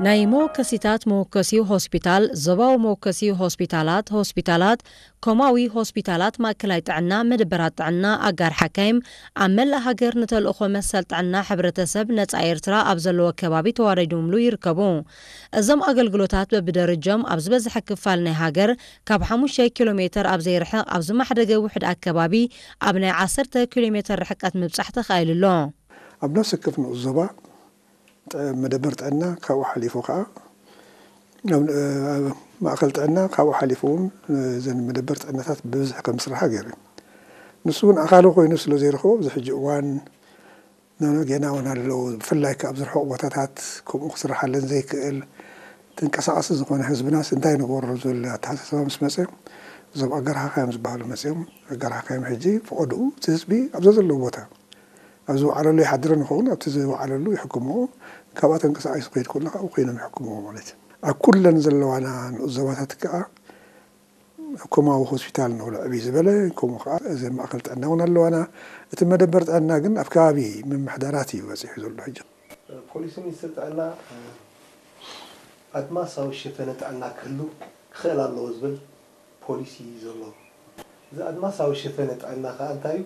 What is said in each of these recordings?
ናይ መወከሲታት መወከሲ ሆስፒታል፣ ዞባዊ መወከሲ ሆስፒታላት፣ ሆስፒታላት፣ ኮማዊ ሆስፒታላት፣ ማእከላይ ጥዕና፣ መደበራት ጥዕና፣ ኣጋር ሓካይም፣ ኣብ መላእ ሃገር ንተልእኾ መሰል ጥዕና ሕብረተሰብ ነጻ ኤርትራ ኣብ ዘለዎ ከባቢ ተዋሪዶምሉ ይርከቡ። እዞም ኣገልግሎታት በብደረጃም ኣብ ዝበዝሐ ክፋል ናይ ሃገር ካብ ሓሙሽተ ኪሎ ሜተር ኣብ ዘይርሕቕ ኣብ ዝማሕደገ ውሕድ ኣከባቢ ኣብ ናይ ዓሰርተ ኪሎ ሜተር ርሕቀት ምብጻሕ ተኻኢሉ ኣሎ። ኣብ ነፍሲ ወከፍ ንኡስ ዞባ ጥዕ-፣ መደበር ጥዕና ካብኡ ሓሊፉ ከኣ ናብ፣ ኣብ ማእከል ጥዕና ካብኡ ሓሊፉ እውን እዘን መደበር ጥዕናታት ብብዝሒ ከም ዝስርሓ ገይሩ እዩ። ንሱ እውን ኣኻሊ ኮይኑ ስለ ዘይረኽቦ ኣብዚ ሕጂ እዋን ኖኖ ጌና እውን ኣለዉ። ብፍላይ ከኣ ኣብ ዝርሑቕ ቦታታት ከምኡ ክስርሓለን ዘይክእል ተንቀሳቓሲ ዝኾነ ህዝብናስ እንታይ ንገብሮ ዝብል ኣተሓሳስባ ምስ መጸ እዞም ኣጋር ሓካይም ዝበሃሉ መጺኦም ኣጋር ሓካይም ሕጂ ፈቐድኡ እቲ ህዝቢ ኣብዛ ዘለዎ ቦታ ኣብ ዝወዓለሉ ይሓድርን ይኸውን፣ ኣብቲ ዝወዓለሉ ይሕክምዎ፣ ካብኣ ተንቀሳቒሱ ክኸይድ ከሎ ካብኡ ኮይኖም ይሕክምዎ ማለት እዩ። ኣብ ኩለን ዘለዋና ንኡስ ዞባታት ከኣ ኮማዊ ሆስፒታል ንብሎ ዕብይ ዝበለ፣ ከምኡ ከኣ እዚ ማእከል ጥዕና እውን ኣለዋና። እቲ መደበር ጥዕና ግን ኣብ ከባቢ ምምሕዳራት እዩ በጺሑ ዘሎ ሕጂ። ፖሊሲ ሚኒስትሪ ጥዕና ኣድማሳዊ ሸፈነ ጥዕና ክህሉ ክኽእል ኣለዎ ዝብል ፖሊሲ እዩ ዘሎ። እዚ ኣድማሳዊ ሸፈነ ጥዕና ከኣ እንታይ እዩ?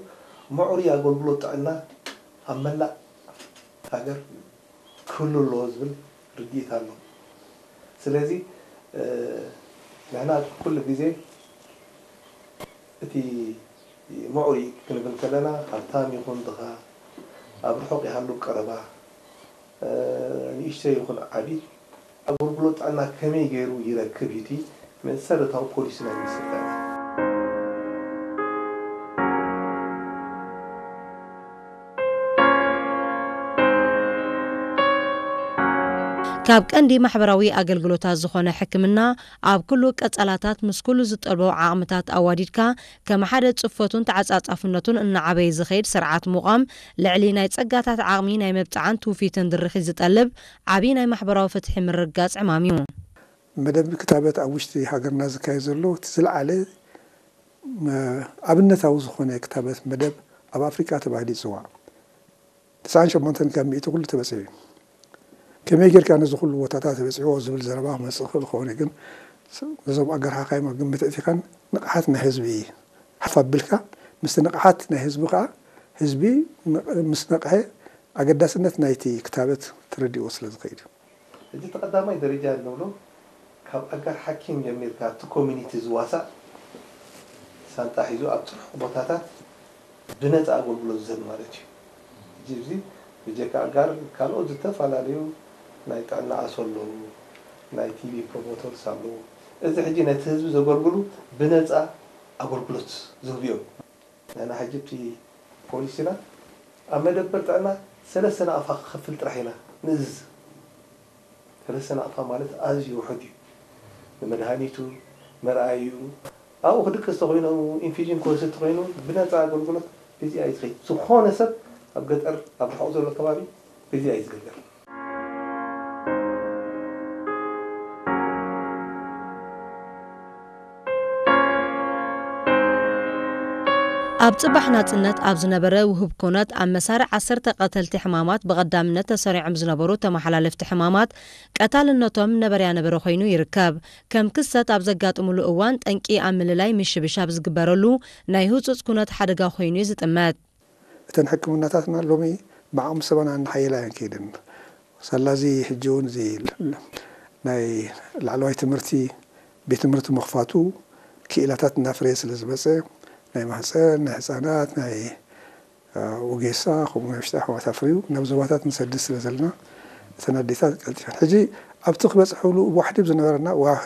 ምዕሩይ ኣገልግሎት ጥዕና ኣብ መላእ ሃገር ክህሉ ኣለዎ ዝብል ርድኢት ኣሎ። ስለዚ፣ እ፣ ንሕና ኩሉ ግዜ እቲ ምዕሩይ ክንብል ከለና ሃብታም ይኹን ድኻ፣ ኣብ ርሑቕ ይሃሉ ቀረባ፣ እ፣ ንእሽተይ ይኹን ዓቢ፣ ኣገልግሎት ጥዕና ከመይ ገይሩ ይረክብ እዩ እቲ መሰረታዊ ፖሊሲ ናይ ሚኒስትሪ ጥዕና። ካብ ቀንዲ ማሕበራዊ ኣገልግሎታት ዝኾነ ሕክምና፣ ኣብ ኩሉ ቀጸላታት ምስ ኩሉ ዝጠልቦ ዓቕምታት ኣዋዲድካ፣ ከም ሓደ ጽፈቱን ተዓጻጻፍነቱን እናዓበየ ዝኸይድ ስርዓት ምቋም፣ ልዕሊ ናይ ጸጋታት ዓቕሚ ናይ ምብጻዕን ትውፊትን ድርኺት ዝጠልብ ዓቢ ናይ ማሕበራዊ ፍትሒ ምርግጋጽ ዕማም እዩ። መደብ ክታበት ኣብ ውሽጢ ሃገርና ዝካየድ ዘሎ እቲ ዝለዓለ፣ መ-፣ ኣብነታዊ ዝኾነ ክታበት መደብ ኣብ ኣፍሪቃ ተባሂሉ ይጽዋዕ። ተስዓን ሸሞንተን ካብ ሚእቲ ኩሉ ተበጺሑ እዩ። ከመይ ጌርካ ነዚ ኩሉ ቦታታት ተበጺሕዎ ዝብል ዘረባ ክመጽእ ይኽእል ክኸውን እዩ፣ ግን ነዞም ኣጋር ሓካይም ኣብ ግምት ኣእቲኻን ንቕሓት ናይ ህዝቢ ሓፍ ኣቢልካ፣ ምስቲ ንቕሓት ናይ ህዝቢ ከኣ ህዝቢ ን-፣ ምስ ነቕሐ ኣገዳስነት ናይቲ ክታበት ተረዲእዎ ስለ ዝኸይድ እዩ። እዚ እቲ ቀዳማይ ደረጃ እንብሎ ካብ ኣጋር ሓኪም ጀሚርካ እቲ ኮሚኒቲ ዝዋሳእ ሳንጣ ሒዙ ኣብ ጽርሑቕ ቦታታት ብነጻ ኣገልግሎት ዝህብ ማለት እዩ። ሕጂ እዚ ብጀካ ኣጋር ካልኦት ዝተፈላለዩ ናይ ጥዕና ኣሶ ኣለዉ፣ ናይ ቲቢ ፕሮሞተርስ ኣለዉ። እዚ ሕጂ ነቲ ህዝቢ ዘገልግሉ ብነጻ ኣገልግሎት ዝህቡ እዮም። ንሕና ሕጂ እቲ ፖሊሲና ኣብ መደበር ጥዕና ሰለስተ ናቕፋ ክኸፍል ጥራሕ ኢና ንእዝዝ። ሰለስተ ናቕፋ ማለት ኣዝዩ ውሑድ እዩ። ንመድሃኒቱ፣ መርኣይኡ፣ ኣብኡ ክድቅስ ተኾይኑ፣ ኢንፊዥን ክወስድ ተኾይኑ፣ ብነጻ ኣገልግሎት በዚኣ እዩ ዝኸይድ። ዝኾነ ሰብ ኣብ ገጠር፣ ኣብ ርሑቕ ዘሎ ከባቢ በዚኣ እዩ ዝግልገል። ኣብ ጽባሕ ናጽነት ኣብ ዝነበረ ውሁብ ኩነት፣ ኣብ መሳርዕ ዓሰርተ ቀተልቲ ሕማማት ብቐዳምነት ተሰሪዖም ዝነበሩ ተመሓላለፍቲ ሕማማት ቀታልነቶም ነበርያ ነበረ ኮይኑ ይርከብ። ከም ክስተት ኣብ ዘጋጥሙሉ እዋን፣ ጠንቂ ኣብ ምልላይ ምሽብሻብ ዝግበረሉ ናይ ህጹጽ ኩነት ሓደጋ ኮይኑ እዩ ዝጥመት። እተን ሕክምናታትና ሎሚ ብዓቕሚ ሰበና እናሓየላ እየን ከይደን። ሳላ እዚ ሕጂ እውን እዚ ናይ ላዕለዋይ ትምህርቲ፣ ቤት ትምህርቲ ምኽፋቱ ክኢላታት እናፍረየ ስለ ዝመጸ፣ ናይ ማህጸን፣ ናይ ህጻናት፣ ናይ፣ እ፣ ወጌሳ፣ ከምኡ ናይ ውሽጢ ኣሕዋት ኣፍርዩ ናብ ዞባታት ንሰድድ ስለ ዘለና፣ እተን ኣዴታት ቀልጢፈን። ሕጂ ኣብቲ ክበጽሕሉ ዋሕዲ ዝነበረና፣ ዋ-፣